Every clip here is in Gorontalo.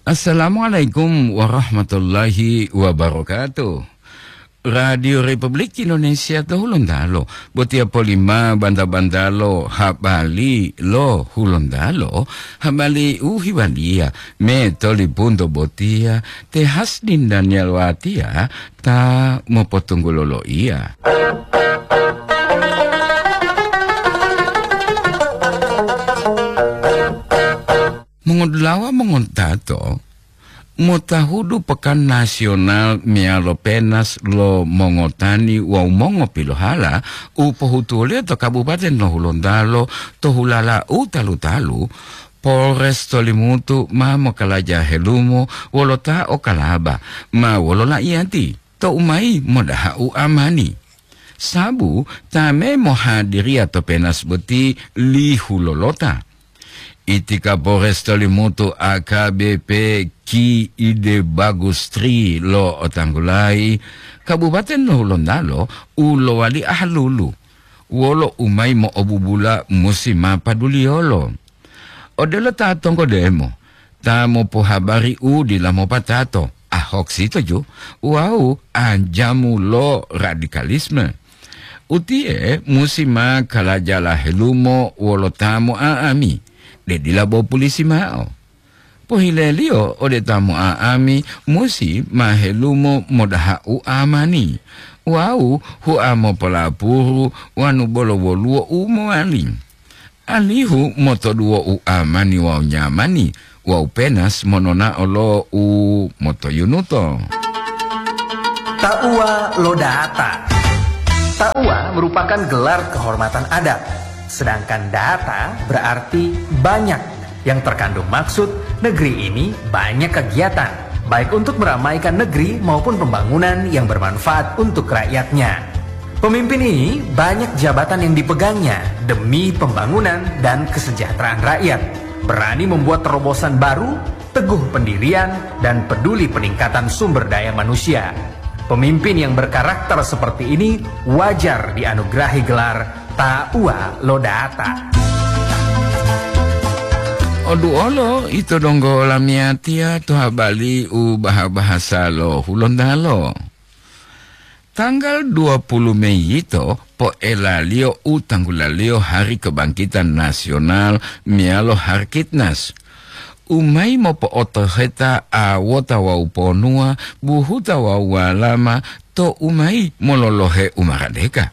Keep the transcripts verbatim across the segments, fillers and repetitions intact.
Assalamualaikum warahmatullahi wabarakatuh. Radio Republik Indonesia to Hulontalo, botiya polima banta-bantalo habali lo Hulontalo, habali u hiwaliya me tolipunto botiya te Hasdin Daniel Watia ta mopotunggulo loiya. Mongodulawa mongontato, motahudu Pekan Nasional meyalo Penas lo Mongotani wawu Mongopilohala u pohutuwoliyo to Kabupaten lo Hulontalo to hulala u talu-talu, Polres Tolimutu ma mokalaja helumo wolo ta o kalaba ma wolo laiyati to u mayi modaha u amani. Sabu ta me mohadiriya to Penas boti lihu lolota. Iti Kapolres Tolimutu A K B P Ki Ide Bagus Tri lo otanggulayi, Kabupaten lo Hulontalo u lowali ahalulu, wolo u mayi mo'obubula musi ma paduliyolo. Odelo ta tonggodemo, ta mopohabari u dila mopatato, a hoax ito ju, wawu anjamu lo radikalisme. Utiye musi ma kalajala helumo wolo ta mo'a'ami, de dila bo pulisi mao. Pohileliyo ode ta mo'a'ami musi ma helumo modaha u amani, wawu hua mopolapuru wanu bolo woluwo u mowali. Alihu motoduwo u amani wawu nyamani wawu Penas mononao lo u motoyunuto. Ta'uwa lo data. Ta'uwa merupakan gelar kehormatan adat, sedangkan data berarti banyak yang terkandung maksud negeri ini banyak kegiatan, baik untuk meramaikan negeri maupun pembangunan yang bermanfaat untuk rakyatnya. Pemimpin ini banyak jabatan yang dipegangnya demi pembangunan dan kesejahteraan rakyat. Berani membuat terobosan baru, teguh pendirian, dan peduli peningkatan sumber daya manusia. Pemimpin yang berkarakter seperti ini wajar dianugerahi gelar Ta'uwa lo Data. Oduolo ito donggo lamiyatiya to habali u baha-bahasa lo Hulontalo. Tanggal dua puluh Mei yito poelaliyo u tanggulaliyo Hari Kebangkitan Nasional meyalo Harkitnas. U mayi mopo'otoheta awota wawu ponuwa, buhuta wawu walama to u mayi mololohe u maradeka.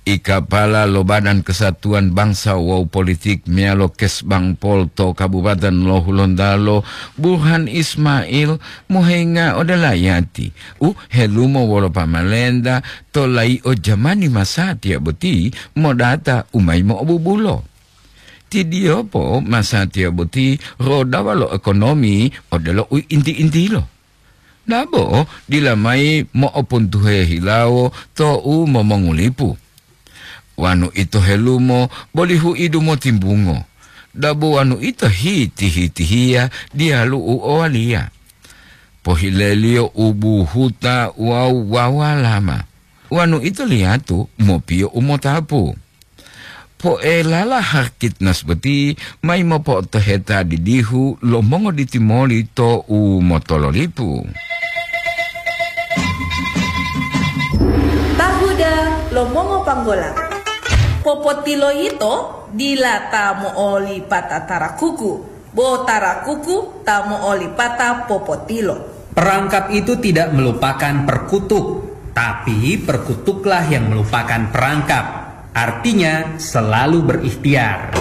Ikapala lo Badan Kesatuan Bangsa wawu Politik meyalo Kesbangpol to Kabupaten lo Hulontalo, Burhan Ismail, mohenga ode layati u helumo wolo pamalenta to layi'o jamani masatiya boti modata u mayi mo'obubulo. Tidiyopo masatiya boti rodawa lo ekonomi odelo u inti-intilo. Dabo dila mayi mo'opuntuhe hilawo to u momongulipu. Wanu ito helumo boli hu'idu motimbungo. Dabo wanu ito hiti-hitihiya diyalu u owaliya. Pohileliyo u buhuta wawu wawalama. Wanu ito liyatu mopiyo u motapu. Poelala Harkitnas boti mayi mopo'otoheta didihu lo mongoditimoli to u motololipu. Tahuda lo mongopanggola. Popotilo yito dila ta mo'olipata tarakuku, bo tarakuku ta mo'olipata popotilo. Perangkap itu tidak melupakan perkutuk, tapi perkutuklah yang melupakan perangkap. Artinya, selalu berikhtiar.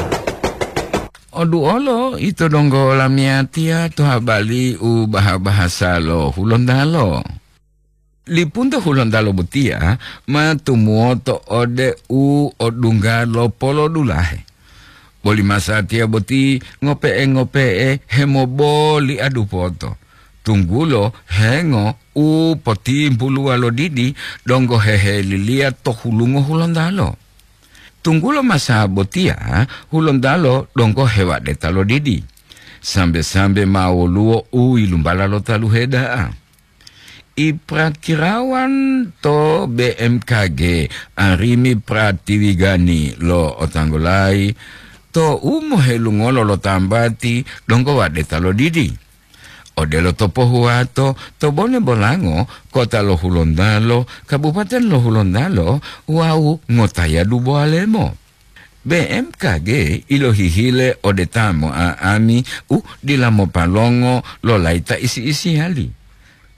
Oduolo ito donggo lamiyatiya to habali u baha-bahasa lo Hulontalo. Lipunto Hulontalo botiya ma tumuwoto ode u odungga lo polodulahe. Boli masatiya boti ngope'e-ngope'e hemoboliadu poto, tunggulo hengo u potimpuluwa lo didi donggo heheliliya to hulungo Hulontalo. Tunggulo masa botiya Hulontalo donggo hewadeta lo didi. Sambe-sambe ma woluwo u yilumbala lo taluhe da'a. Iprakirawan to B M K G, Arimi Pratiwigani lo Otanggolayi, to u mohelungolo lo tambati donggo wadeta lo didi. odelo to Pohuwato, to Bone Bolango, kota lo Hulontalo, kabupaten lo Hulontalo, wawu ngotayadu Bowalemo. B M K G ilohihile ode ta mo'a'ami u dila mopalongo lo layita isi-isiyali.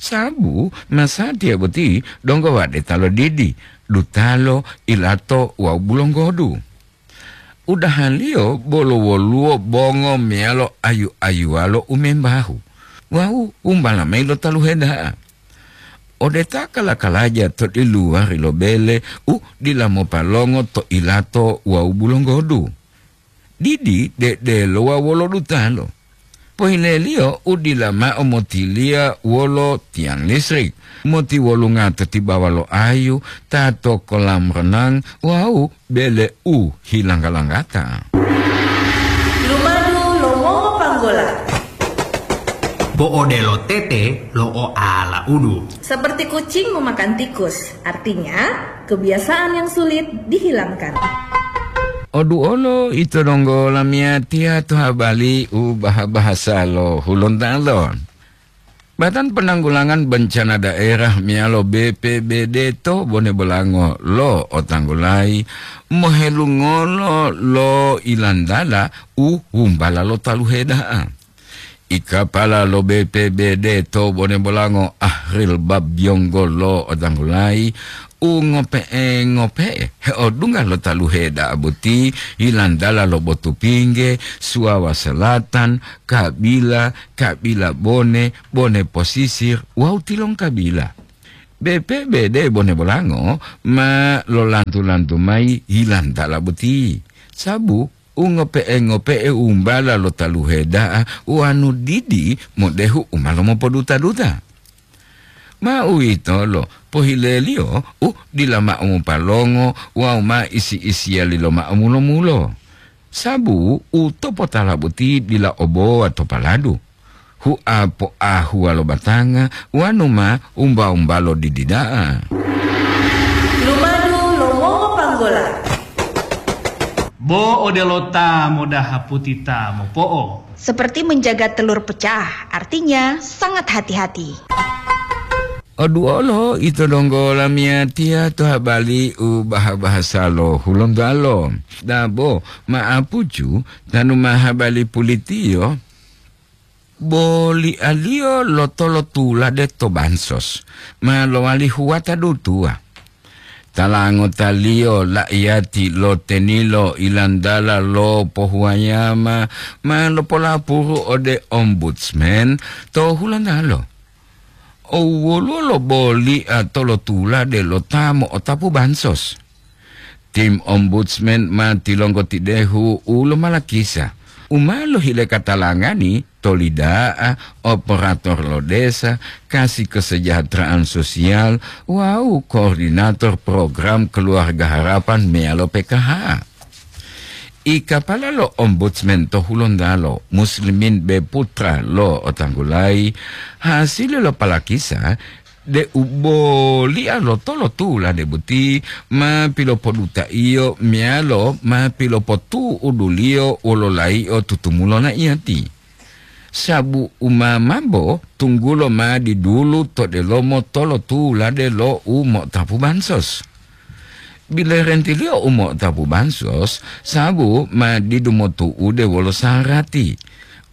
Sabu masatiya boti donggo wadeta lo didi, dutalo, ilato wawu bulonggodu. Udahaliyo bolo woluwo bongo meyalo ayu-ayuwalo u membahu wawu umbala mayi lo taluhe da'a. Ode ta kala-kalaja to diluwari lo bele u dila mopalongo to ilato wawu bulonggodu. Didi dedelo wawu wolo dutalo. Pohileliyo u dila mao motiliya wolo tiyang listrik, motiwolunga to tibawa lo ayu, ta to kolam renang wawu bele u hilangga-langgata. Lumadu lo mongo panggola. Bo odelo tete lo oala udu. Seperti kucing memakan tikus, artinya kebiasaan yang sulit dihilangkan. Oduolo ito donggo lamiyatiya to habali u baha-bahasa lo Hulontalo. Badan Penanggulangan Bencana Daerah meyalo B P B D to Bone Bolango lo otanggulayi mohelungolo lo ilantala u humbala lo taluhe da'a. I kapala lo B P B D to Bone Bolango Ahril Babyonggo lo otanggulayi u ngope'e-ngope'e heodungga lo taluhe da'a boti ilantala lo Botupingge, Suwawa Selatan, Kabila, Kabila Bone, Bone Posisir, wawu Tilongkabila. B P B D Bone Bolango ma lolantu-lantu mayi hilantala boti, sabu u ngope'e-ngope'e umbala lo taluhe da'a uwanu didi modehu u ma lomopoduta-duta. Ma uwitolo pohileliyo u dila mao mopalongo wawu ma isi-isiyali lomao mulo-mulo. Sabu u topotala boti dila obowa to paladu, hua poahuwa lo batanga wanu ma umba-umbalo didi da'a. Lumadu lo mongo panggola. Bo odelo ta modaha puti ta mopo'o. Seperti menjaga telur pecah, artinya sangat hati-hati. Oduolo ito donggo lamiyatiya to habali u baha-bahasa lo Hulontalo. Dabo ma'apucu tanu ma habali pulitiyo, bolialiyo lo tolotulade to bansos ma lowali huwata dutuwa. Tala ngotaliyo la'iyati lo tenilo ilantala lo pohuwayama ma lopolapuru ode ombudsman to Hulontalo. Owoluwo lo boli'a tolotulade lo ta mo'otapu bansos. Tim ombudsman ma tilonggotidehu u lomalakisa, u ma lohile katalangani to lida'a, operator lo desa, kasi kesejahteraan sosial, wawu koordinator program Keluarga Harapan meyalo P K H. I kapala lo ombudsman to Hulontalo, Muslimin B Putra lo otanggulayi, hasili lo palakisa deu boli'a lo tolotulade boti ma pilopodutaiyo meyalo ma pilopotu'uduliyo wolo layi'o tutumulo na'iyati. Sabu u ma mambo tunggulo ma didulu to delomo tolotulade lo u mo'otapu bansos. Bilerentiliyo u mo'otapu bansos, sabu ma didu motu'ude wolo sarati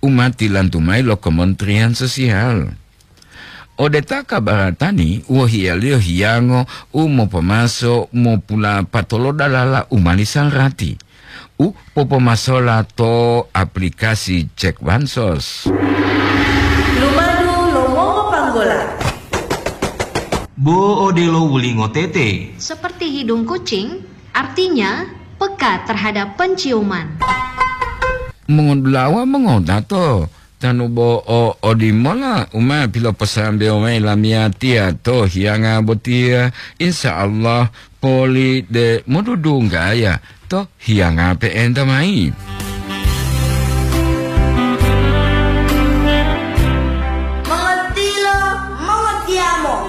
u ma tilantu mayi lo Kementerian Sosial. Ode ta kabaratani, wohiyaliyo hiyango u mopomaso mopulapatolo dalala u mali sarati u popomasola to aplikasi cek bansos. Lumadu lo mongo panggola. Bo odelo wulingo tete. Seperti hidung kucing, artinya peka terhadap penciuman. Mongodulawa mongodato, tanu bo o odimola u ma piloposambewo mayi lamiyatiya to hiyanga botiya, insya Allah poli de modudunggaya to hiyanga pe'enta mayi.